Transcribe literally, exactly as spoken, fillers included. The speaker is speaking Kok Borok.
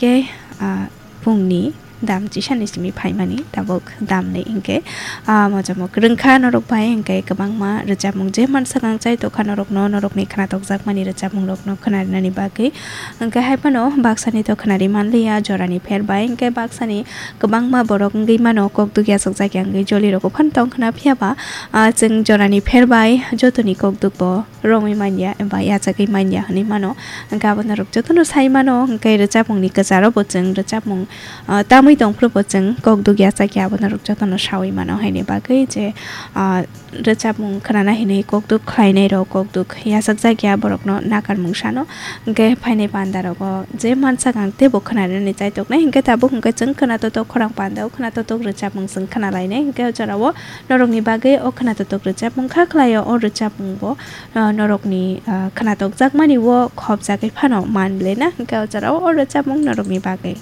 Ke, ah, pungni dam chisani simi phaimani tabuk damni hinkhe, ah, mochamo kwrwngkha norok bai hinkhe kwbangma rwchapmung je mansa kang chai tokha norokno, norokni khwnatok jakmani rwchapmung rokno khwnarinani bagwi. Hinkhe hai phano baksani to khwnari manliya jorani pher bai hinkhe baksani kwbangma borok wngwi mano kok duk yachakjak ya wngwi joli rokbo phano tongkhwna phiyaba, ah, chwng jorani pher bai jotoni kok dukbo romwi manya eba yachagwi manya hinwi mano. Hinkhe abo norok jotono sai mano, hinkhe rwchapmungni kwcharo bo chwng rwchapmung, ah, tamwi tongphuru bo chwng kok duk yachak ya abo norok jotono sawi mano. Haini bagwi je, ah, rwchapmung khwnana hinwi kok duk khlainai rok, kok duk yachakjak ya borokno nakarmung sano. Hinkhe phainai panda rogo je mansa kang teibo khwnanani chaitoknai, hinkhe tabuk hinkhe chwng khwna totok khorang panda o khwna totok rwchapmung chwng khwnalainai. Hinkhe o jorao norokni bagwi o khwna totok rwchapmung kha khlaio, o rwchapmung bo ah, norokni, ah, khwnatok jakmani o khopjagwi phano man belai na, hinkhe o jorao o rwchapmung norokni bagwi.